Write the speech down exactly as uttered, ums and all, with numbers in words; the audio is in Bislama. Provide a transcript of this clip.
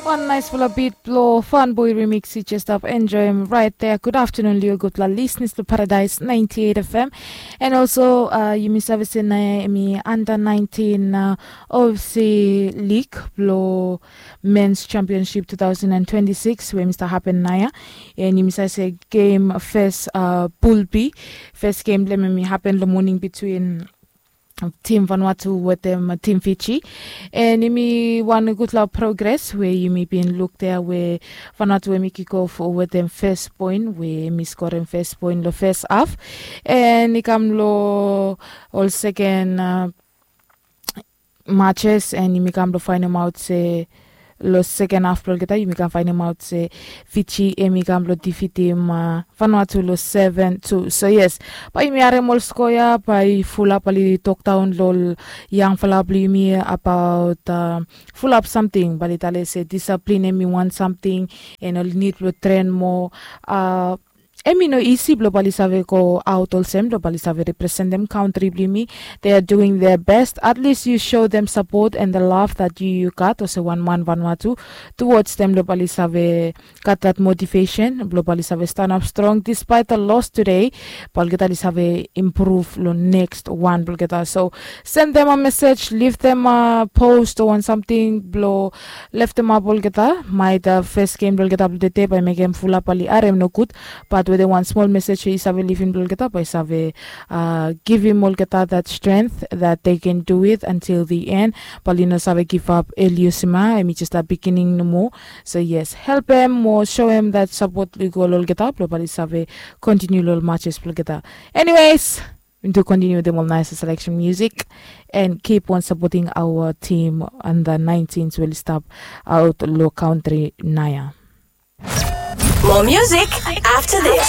Wan naisfala bit blong Fun Boy Remix yu jes stap enjoem raet dea. Gud aftanun long yu gudfala lisnis long Paradise ninety eight F M. And also uh, yumi save se naoia yumi under nineteen uh, O F C league blong Men's Championship two thousand and twenty-six we yumi stap hapen naoia. And yumi save se game fes uh, Pool B, fes game blong hem yumi hapen long moning between Tim Vanuatu wetem Tim Fiji. And yumi wan gudfala progres we yumi bin luk dea we Vanuatu we mi kikof wetem fes poen we mi skorem fes poen long fes haf. And i kam long ol seken uh, matches and yumi kam long faenemaot se long seken haf blong olgeta yumi kam faenemaot se Fiji em i kam blong difitim uh, Vanuatu long seven two. So yes, bae yumi harem ol skoa ia bae fulap oli tokdaon long ol yangfala blong yumi abaot uh, fulap samting bae oli talem se disaplin em i wan samting and oli nid blong tren moa. Uh, Em i no isi blong bae oli save go aot olsem blong bae oli save representem kantri blong yumi. They are doing their best. At least you show them support and the love that you, you got olsem wan man Vanuatu towards them blong bae oli save gat that motivation blong bae oli save stanap strong despite the loss today. Bae olgeta oli save improve long next one blong olgeta. So send them a message, leave them a post o wan samting blong leftemap olgeta. Maet uh, fes game blong olgeta blong tede bae mekem fulap bae oli harem nogud. But wetem wan smol mesej we i save livim blong olgeta bae i save uh, givim olgeta that strength that they can do it until the end. Bae oli no save givap. Eliusima em i jes a beginning nomo. So yes, helpem mo soem that sapot i go long olgeta blong bae oli save kontiniu long ol matches blong olgeta. Anyways, we need to continue with them all nice selection music and keep on supporting our team under nineteens we oli stap aot long kantri naoia. More music after this.